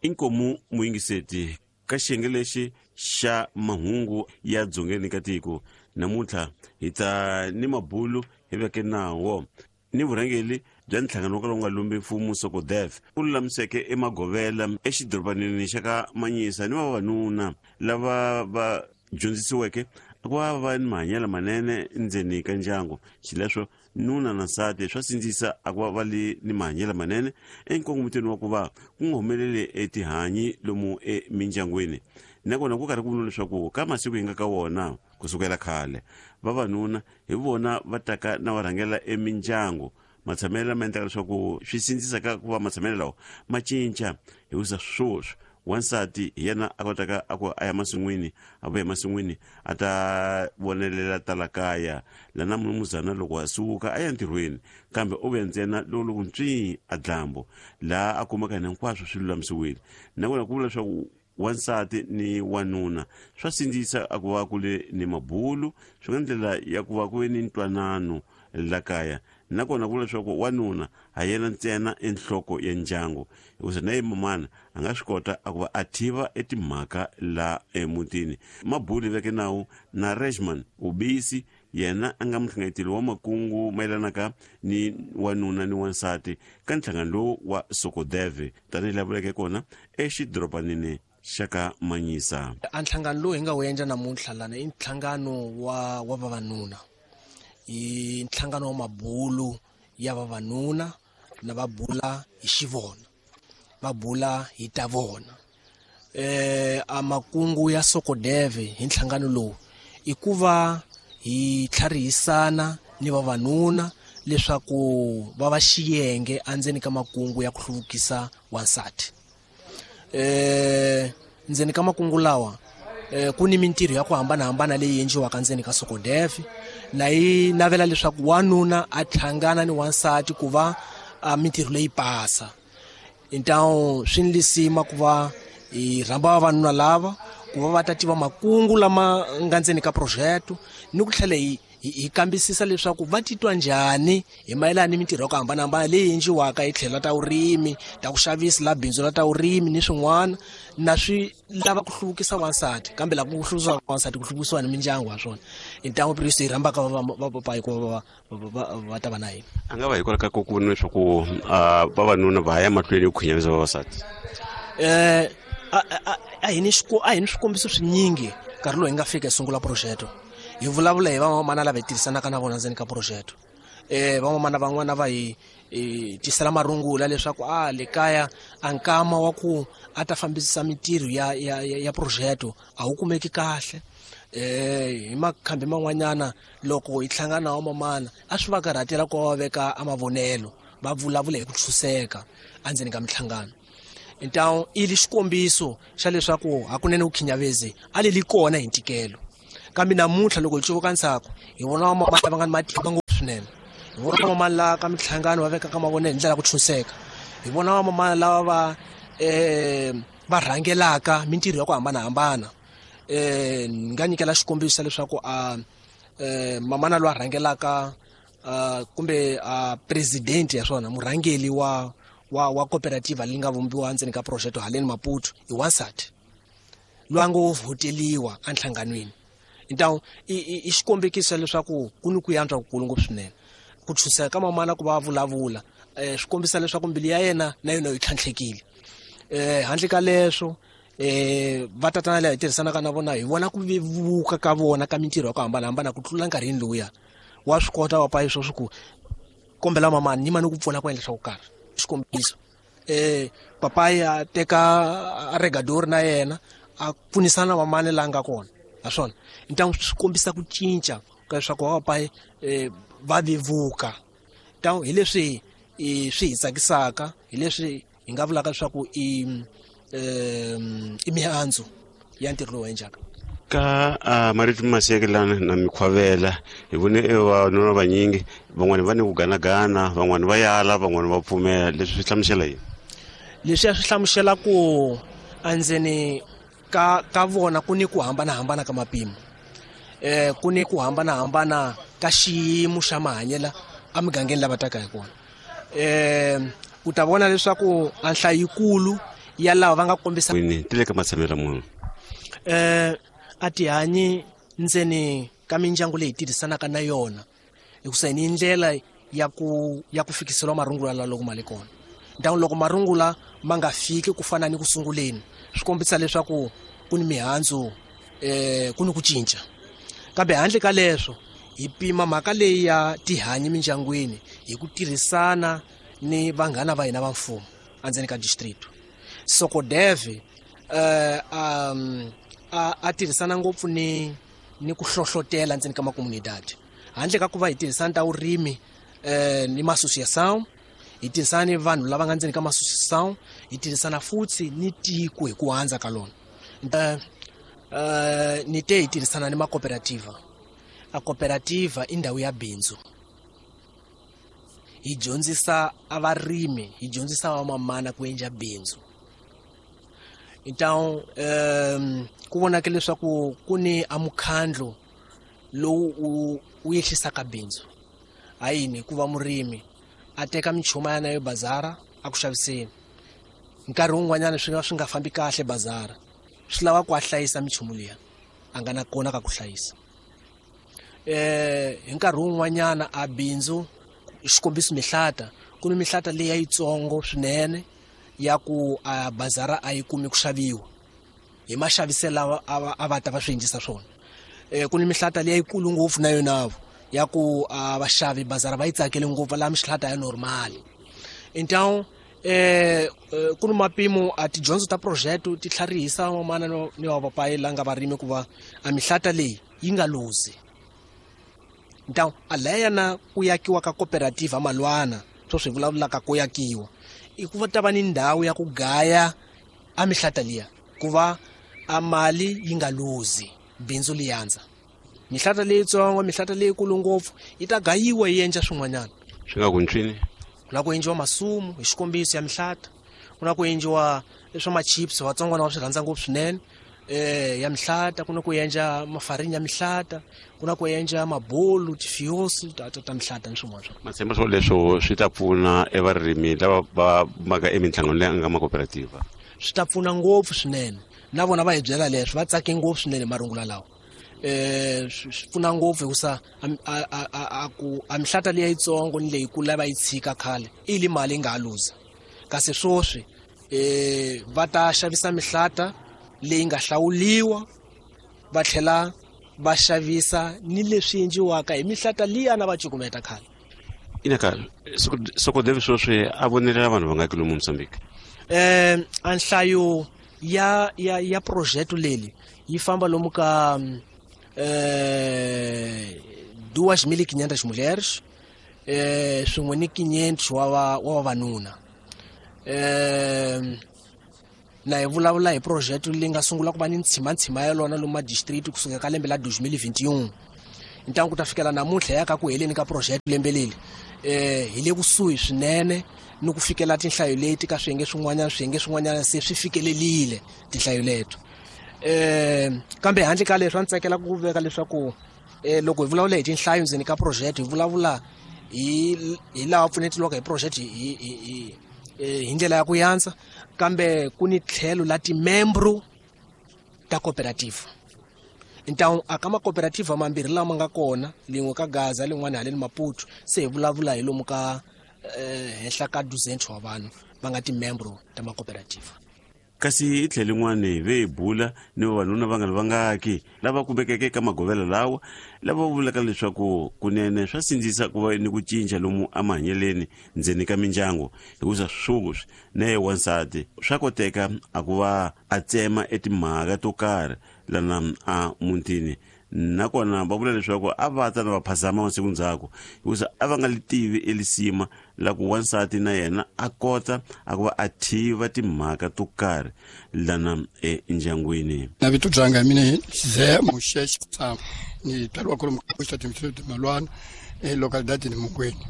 Inkomu muyingiseti ka xiyenge lexi xa mahungu ya dzongeni ka tiko namuntlha hi ta ni mabulu hi veke nawo ni vurhangeli bya nhlangano wo kala wu nga lumbi mfumo Sokodef u lulamiseke emagovela exidorobanini xa ka Manyisa ni vavanuna lava va dyondzisiweke ku va va ni mahanyelo manene ndzeni ka ndyangu. Xileswo nuna na nsati swa sindzisa a ku va va li ni mahanyelo manene enkongomitweni wa ku va ku nga humeleli etihanyi lomu emindyangwini. Nakona ku karhi ku vuriwa leswaku ka masiku hi nga ka wona ku sukela khale vavanuna hi vona va taka na va rhangela emindyangu. Matshamelo lama endlaka leswaku swi sindzisa ka ku va matshamelo lawa ma cinca hikusa sweswi wansati hi yena a kotaka a ku a ya masin'wini, a vuya emasin'wini a ta vonelela tala kaya lana munumuzana loko a suka a ya ntirhweni kambe u vuya ntsena loko loko ntswii a dlambu laha a kumaka hina hinkwaswo swi lulamisiwile. Nakona ku vula leswaku wansati ni wanuna swa sindzisa a ku va ku le ni mabulu swi nga ndlela ya ku va ku ve ni ntwanano la kaya. Nakona ku vula leswaku wanuna ha yena ntsena enhloko ya ndyangu hikusa na ye mamana a nga swi kota a ku va a tiva etimhaka la emutini. Mabulu veke nawu na Rejman Ubisi yena a nga muhlanganyeteli wa makungu mayelanaka ni wanuna ni wansati ka nhlangano lowu wa Sokodeve tanihi laha vuleke kona exidorobanini xa ka Manyisa. A nhlangano lowu hi nga wu endla namuntlha lana i nhlangano wa vavanuna, i nhlangano wa mabulu ya vavanuna na va bula hi xivona, va bula hi ta vona. A makungu ya Sokodeve hi nhlangano lowu i ku va hi tlharihisana ni vavanuna leswaku va va xiyenge endzeni ka makungu ya ku hluvukisa wansati. Ndzeni ka makungu lawa ku ni mintirho ya ku hambanahambana leyi endliwaka ndzeni ka Sokodeve, na yi navela leswaku wanuna a hlangana ni wansati ku va mintirho leyi pasa. Ntawu swi ni lisima ku va hi rhamba vavanuna lava ku va va ta tiva makungu lama nga ndzeni ka project ni ku tlhela hi kambisisa leswaku va titwa njhani hi mayelana ni mintirho ya ku hambanahambana leyi endliwaka hi tlhelo ta vurimi, ta ku xavisa la bindzu la ta vurimi ni swin'wana, na swi lava ku hluvukisa wansati kambe lava ku hluvukisa wansati ku hluvukisiwa ni mindyangu wa swona. Hi ntangu Priest hi rhambaka va hikuva va ta va na hina. A nga va hikwalaho ka ku vona leswaku vavanuna va ya mahlweni ku khinyavisa vavasati. A hi ni swikombiso swinyingi nkarhi lowu hi nga fika hi sungula project. Hi vulavula hi van'wamana lava hi tirhisanaka na vona ndzeni ka project. Van'wamana van'wana va hi tisela marungula leswaku a le kaya a nkama wa ku a ta fambisisa mintirho ya project a wu kumeki kahle. Hi makhambi man'wanyana loko hi hlangana na vamamana a swi va karhatela ku va veka a mavonelo va vulavula hi ku tshuseka endzeni ka minhlangano. Ntawu i li xikombiso xa leswaku hakunene vukhinyavezi a li li kona hi ntikelo. Kambe namuntlha loko hi cuvuka ndzhaku hi vona vamamana lava nga ni matimba ngopfu swinene, hi vona vamamana lava ka minhlangano va vekaka mavonelo hi ndlela ya ku tshuseka, hi vona vamamana lava va rhangelaka mintirho ya ku hambanahambana. Ni nga nyikela xikombiso leswaku a mamana loyi a rhangelaka kumbe a president ya swona murhangeli wa cooperative leyi nga vumbiwa ndzeni ka project haleni Maputo i wansati loyi a ngo vhoteliwa enhlanganweni. Ntawu i xikombekiso leswaku ku ni ku yantswa kukulu ngopfu swinene. Ku tshuseka ka mamana ku va vulavula swi kombisa leswaku mbilu ya yena na yona yi tlhantlhekile. Handle ka leswo va tatana lava hi tirhisanaka na vona hi vona ku vevuka ka vona ka mintirho ya ku hambanahambana ku tlula nkarhini lowuya. Wa swi kota va payi sweswo ku kombela mamani ni mani ku pfuna ku endla swa ku karhi. Xikombiso papayi a teka regadori na yena a pfunisana na mamani la nga kona ha swona. Ntangu swi kombisa ku cinca ka leswaku va papayi va vevuka. Ntangu hi leswi swi hi tsakisaka, hi leswi hi nga vulaka leswaku i mihandzu ya ntirho lowu endlaka. Ka marito masekelana na mikhwavela hi vone vavanuna vanyingi van'wani va ni ku ganagana, van'wani va yala, van'wani va pfumela. Leswi swi hlamusela yini? Leswi swi hlamusela ku endzeni ka vona ku ni ku hambanahambana ka mapimo, ku ni ku hambanahambana ka xiyimo xa mahanyelo emugangeni lava taka hi kona. U ta vona leswaku a nhlayo yikulu Ya lava va nga kombisa ti le ka matshamelo ya munhu. A tihanyi ndzeni ka mindyangu leyi tirhisanaka na yona, hikusa hi ni ndlela ya ku fikiseliwa marungula la loko ma le kona. Ntangu loko marungula ma nga fiki ku fana ni ku sunguleni, swi kombisa leswaku ku ni mihandzu, ku ni ku cinca. Kambe handle ka leswo, hi pima mhaka leyi ya tihanyi mindyangwini hi ku tirhisana ni vanghana va hina va mfumo endzeni ka district. Socodev a tirhisana ngopfu ni ku hlohlotela ndzeni ka makomunidade. Handle ka ku va hi tirhisana ta vurimi ni maassociation, hi tirhisana ni vanhu lava nga ndzeni ka maassociation, hi tirhisana futhi ni tiko hi ku handza ka lona. Ni te hi tirhisana ni macooperativa. A cooperativa i ndhawu ya bindzu. Hi dyondzisa a varimi, hi dyondzisa vamamana ku endla bindzu. Então ku vonake leswaku ku ni a mukhandlu lowu wu yehlisaka bindzu. Hayini? Hikuva murimi a teka minchuma ya nayo bazara a ku xaviseni, nkarhi wun'wanyana swi nga swi nga fambi kahle bazara, swi lava ku a hlayisa minchumu liya, a nga na kona ka ku hlayisa. Hi nkarhi wun'wanyana a bindzu, xikombiso mihlata, ku ni mihlata leyi ya yitsongo swinene ya ku a bazara a yi kumi ku xaviwa hi maxaviselo lawa a va ta va swi endlisa swona. Ku ni mihlata leyi yikulu ngopfu na yona ya ku a vaxavi bazara va yi tsakele ngopfu, va lava mihlata ya normal. Então ku ni mapimo a tidyondzo ta project ti tlharihisa vamana ni vapapayi la nga varimi ku va a mihlata leyi yi nga luzi. Então a laya na ku yakiwa ka cooperative malwana swo swi vulavulaka ku yakiwa i ku va ta va ni ndhawu ya ku gaya a mihlata liya, ku va a mali yi nga luzi, bindzu li yandza. Mihlata leyitsongo, mihlata leyikulu ngopfu yi ta gayiwa, yi endla swin'wanyana. Swi nga ku ntswini? Ku na ku endliwa masumu, hi xikombiso, ya mihlata. Ku na ku endliwa swa machips, vatsongwana va swi rhandza ngopfu swinene, ya mihlata. Ku na ku endla mafarini ya mihlata, ku na ku endla mabolu, tifiosi ta mihlata ni swin'wana swa. Ma tshemba swo leswo swi ta pfuna evarimi lava va maka eminhlangano leyi nga macooperativa? Swi ta pfuna ngopfu swinene. Na vona va hi byela leswo, va tsake ngopfu swinene hi marungula lawa. Swi pfuna ngopfu hikusa a ku a mihlata liya yitsongo ni leyikulu va yi tshika khale i li mali yi nga ha luza, kasi swoswi va ta xavisa mihlata leyi nga hlawuliwa, va tlhela va xavisa ni leswi endliwaka hi mihlata liya na va cukumeta khale. Inaka Socodev sweswi a vonelela vanhu va nga ki lomu Mozambique? A nhlayo ya project leli yi famba lomu ka 2500 mulheres swin'we ni 500 wa vavanuna. Na hi vulavula hi project leyi nga sungula ku va ni ntshimantshima ya lona lomu madistrict kusuka ka lembe la 2021 ntangu ku ta fikela namuntlha ya ka ku heleni ka project lembe leri. Hi le kusuhi swinene ni ku fikela tinhlayo leti ka swiyenge swin'wanyana. Swiyenge swin'wanyana se swi fikelelile tinhlayo leto. Kambe handle ka leswi, a ndzi tsakela ku veka leswaku loko hi vulavula hi tinhlayo ndzeni ka project, hi vulavula hi laha pfunetiwaka hi project hi ndlela ya ku yandza, kambe ku ni tlhelo la timembro ta cooperative. Então a ka macooperative mambirhi lama nga kona, lin'we ka Gaza, lin'wana haleni Maputo, se hi vulavula hi lomu ka henhla ka 200 wa vanhu va nga timembro ta macooperative. Kasi hi tlhelo lin'wani ve hi bula ni vavanuna va nga ri vangaki lava kumekeke eka magovela lawa, lava vulaka leswaku kunene swa sindzisa ku va ni ku cinca lomu emahanyeleni ndzeni ka mindyangu, hikusa sweswi na ye wansati swa koteka a ku va a tsema etimhaka to karhi lana a mutini. Nakona va vula leswaku a va ta na va phazama masiku ndzhaku, hikusa a va nga li tivi elisima la ku wansati na yena a kota a ku va a tiva timhaka to karhi lana endyangwini. Na vito dzanga mina Ze Muxexe Tsama, ni tswariwa kwalomu ka xitatimende Malwana e localidade ni Mukweni.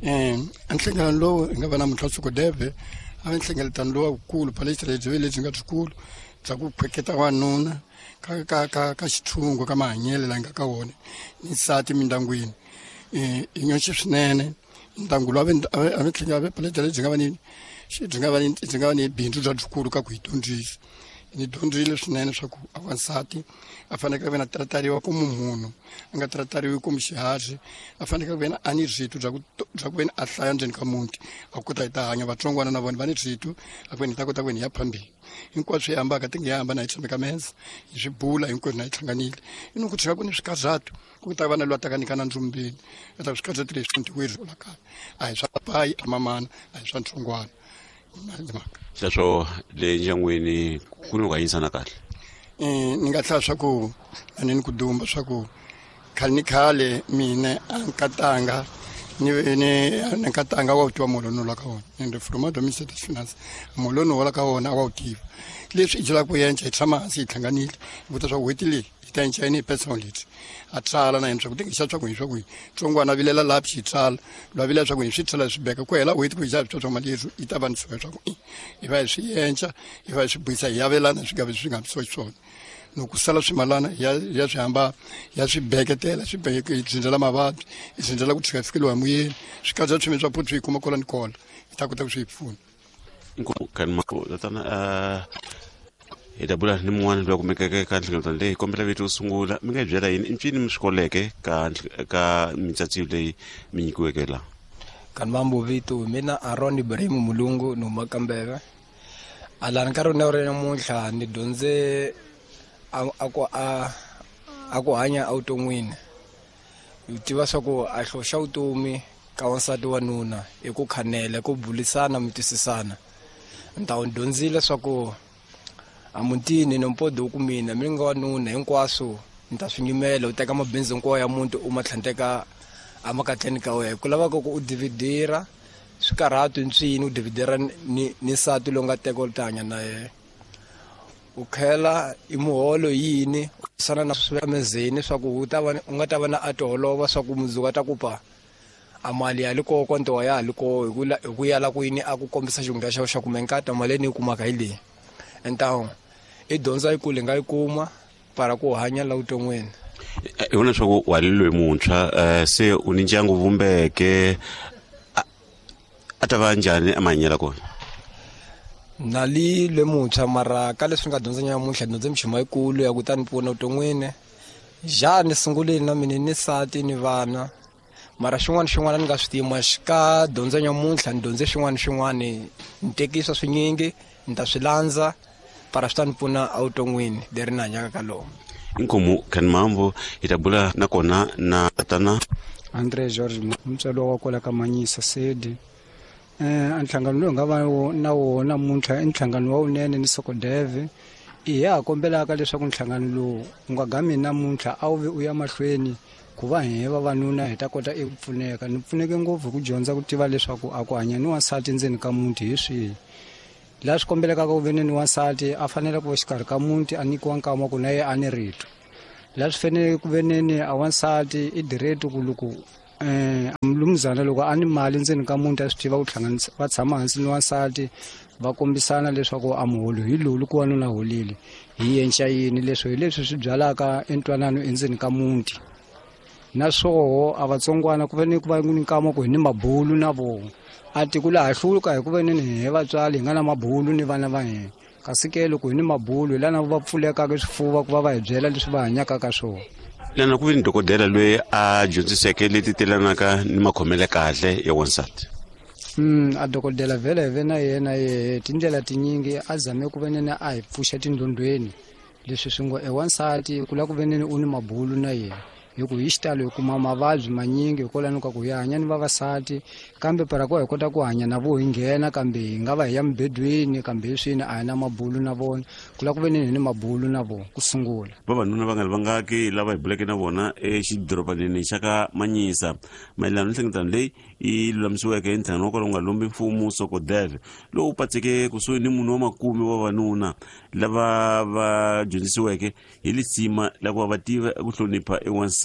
A nhlengeletano lowu hi nga va namuntlha Sokodeve a va nhlengeletano lowu wukulu palestra lebyi lebyi nga byikulu bya ku khweketa wanuna ka xitshungu ka mahanyelo la nga ka wona ni nsati mindyangwini. I nyoxi swinene ndyangu lowu a ve tlhela a ve palestra lebyi nga va ni. Byi nga va ni byi nga va ni bindzu bya byikulu ka ku hi dyondzisa. Ni dyondzile swinene swa ku a wansati a fanekele ku ve na tratariwa komu munhu, a nga tratariwi komu xiharhi, a fanekele ku ve na a ni rito bya ku bya ku ve ni a hlaya ndzeni ka muti, a kota hi ta hanya. Vatsongwana na vona va ni rito a ku ve ni hi ta kota ku ve ni ya phambili. Hinkwaswo hi hambaka ti nge hambana hi tshame ka meza hi swi bula hinkwenu na hi hlanganile. I ni ku tshika ku ni swikarhato ku ta va na loyi a taka nyika na ndzumbeni a ta swikarhato leswi ntiweri la kaya a hi swa papayi a mamana a hi swa ntsongwana mhaka. Sweswo le ndyangwini ku ni ku hanyisana kahle. Ni nga hlaya swa ku a ni ni ku dumba swa ku khale ni khale mina a nkatanga ni ni nkatanga wa wu tiva muholo ni la ka wona, ende from administrative finance muholo ni hola ka wona a wa wu tiva. Leswi i byelaka ku yenca hi tshama hansi hi hlanganile hi vuta swa ku n'hweti leyi hi ta yenca yini hi personal leti a tsala na yena swa ku tingi xa swa ku hi swa ku hi tsongwana vilela laha xi tsala lwa vilela swa ku hi swi tsala swi beka ku hela n'hweti ku hi xa swi swa mali yethu yi ta va ni swa ku hi va hi swi yenca hi va hi swi buyisa hi yavelana swi nga swi nga swi swona. Loko ku sala swimalana ya ya swi hamba ya swi beketela swi beke hi dzindzela mavabyi hi dzindzela ku tshika fikeliwa hi muyeni swi katsa swimi swa phuthu hi kuma kola ni kola hi ta kota ku swi hi pfuna. Inkomu tatana hi ta bula ni mun'wana loyi a kumekeke ka nhlengeletano leyi. Kombela vito sungula mi nga hi byela yini i ncini mi swi koleke ka ka mitsatsiyo leyi mi nyikiweke laha? Kanimambo vito mina Aaron Ibrahim Mulungu ni huma Kambeve. Alani nkarhi wa ri namuntlha ni dyondze a ku a ku hanya evuton'wini. Hi tiva swa ku a xilo xa vutomi ka wansati wa nuna i ku khanela ku bulisana mi twisisana. Ni ta ni dyondzile swa ku a mutini ni mpodi ku mina mi nga wanuna hinkwaswo ni ta swi nyimela u teka mabindzu hinkwawo ya muti u ma tlhandleka emakatleni ka wena ku lavaka ku u dividira swikarhato ntswini u dividira ni ni nsati lowu nga teka u ta hanya na yena u khela i muholo yini u sana na swi mezeni swa ku u ta va u nga ta va na a tiholova swa ku mundzuku a ta ku pa a mali ya li koko ntowa ya ha li koho hi ku hi ku yala ku yini a ku kombisa xihundla xa xa ku menkata mali leyi ni yi kumaka hi leyi entawu i dyondza yikulu hi nga yi kuma para ku hanya la vuton'wini. Hi vona leswaku wa li loyi muntshwa se u ni ndyangu vumbeke a ta va njhani emahanyelo kona? Na li le muntshwa mara ka leswi nga dyondza nyamuntlha dyondze minchumu yikulu ya ku ta ni pfuna vuton'wini. Ja ni sungulile na mina ni nsati ni vana mara xin'wana xin'wana ni nga swi tima ka dyondzo nyamuntlha ni dyondze xin'wana xin'wana ni tekisa swinyingi ni ta swi landza para swi ta ni pfuna evuton'wini leri ni hanyaka ka lona. Inkomu Khanimambo hi ta bula nakona na tatana Andre George mutswari wa kwala ka Manyisa Sedi. A nhlangano lowu nga va na wona namuntlha i nhlangano wa wunene ni Sokodeve. I ha kombelaka leswaku nhlangano lowu wu nga gami namuntlha a wu vi u ya mahlweni ku va hi vavanuna hi ta kota eku pfuneka. Ni pfuneke ngopfu hi ku dyondza ku tiva leswaku a ku hanya ni wansati ndzeni ka muti hi swihi. Laha swi kombelekaka ku ve ni wansati a fanele ku va xikarhi ka muti a nyikiwa nkama ku na yena a ni rito. Laha swi fanele ku ve ni a wansati i direct ku loko mulumuzana loko a ni mali ndzeni ka muti a swi tiva ku hlanganisa va tshama hansi ni wansati va kombisana leswaku a muholo hi lowu loko wanuna holile hi yenca yini. Leswi hi leswi swi byalaka entwanano endzeni ka muti. Naswoho a vatsongwana ku fanele ku va ni nkama ku hi ni mabulu na vona a tiko laha hluka hi ku ve ni hi vatswari hi nga na mabulu ni vana va hina. Kasi ke loko hi ni mabulu hi lana va pfulekaka swifuva ku va va hi byela leswi va hanyaka ka swona. Lana ku ve ni dokodela loyi a dyondziseke leti telanaka ni makhomele kahle ya wansati. A dokodela vhele hi ve na yena yehe tindlela tinyingi a zame ku ve nene a hi pfuxa tindlondlweni leswi swi ngo e wansati ku lava ku ve nene u ni mabulu na yena hi ku hi xitalo hi kuma mavabyi manyingi hikwalano ka ku hi hanya ni vavasati kambe para ku hi kota ku hanya na vo hi nghena kambe hi nga va hi ya mubedweni kambe hi swini a hi na mabulu na vona ku lava ku ve ni hi ni mabulu na vona ku sungula. Vavanuna va nga ri vangaki lava hi buleke na vona exidorobanini xa ka Manyisa mayelana ni nhlengeletano leyi yi lulamisiweke hi nhlangano wa kwala wu nga lombi mfumo Sokodeve lowu patseke kusuhi ni munhu wa makume wa vavanuna lava va dyondzisiweke hi lisima la ku va va tiva ku hlonipha ewansati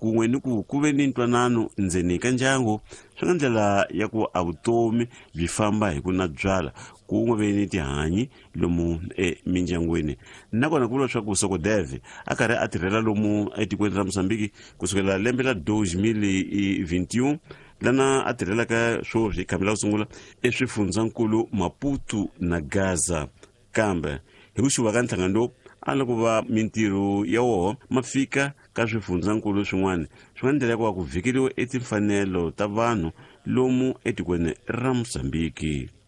kun'we ni ku ku ve ni ntwanano ndzeni ka ndyangu swi nga ndlela ya ku a vutomi byi famba hi ku na byala kun'we ve ni tihanyi lomu emindyangwini. Nakona ku vula leswaku Sokodeve a karhi a tirhela lomu etikweni ra Mozambique kusukela lembe la 2021. Lana a tirhelaka swoswi khambi la ku sungula eswifundzankulu Maputo na Gaza. Kambe hi ku xuva ka nhlangano lowu a loko va mintirho ya woho ma fika ka swifundzankulu swin'wana swi nga ndlela ya ku va ku vhikeriwa etimfanelo ta vanhu lomu etikweni ra Mozambiki.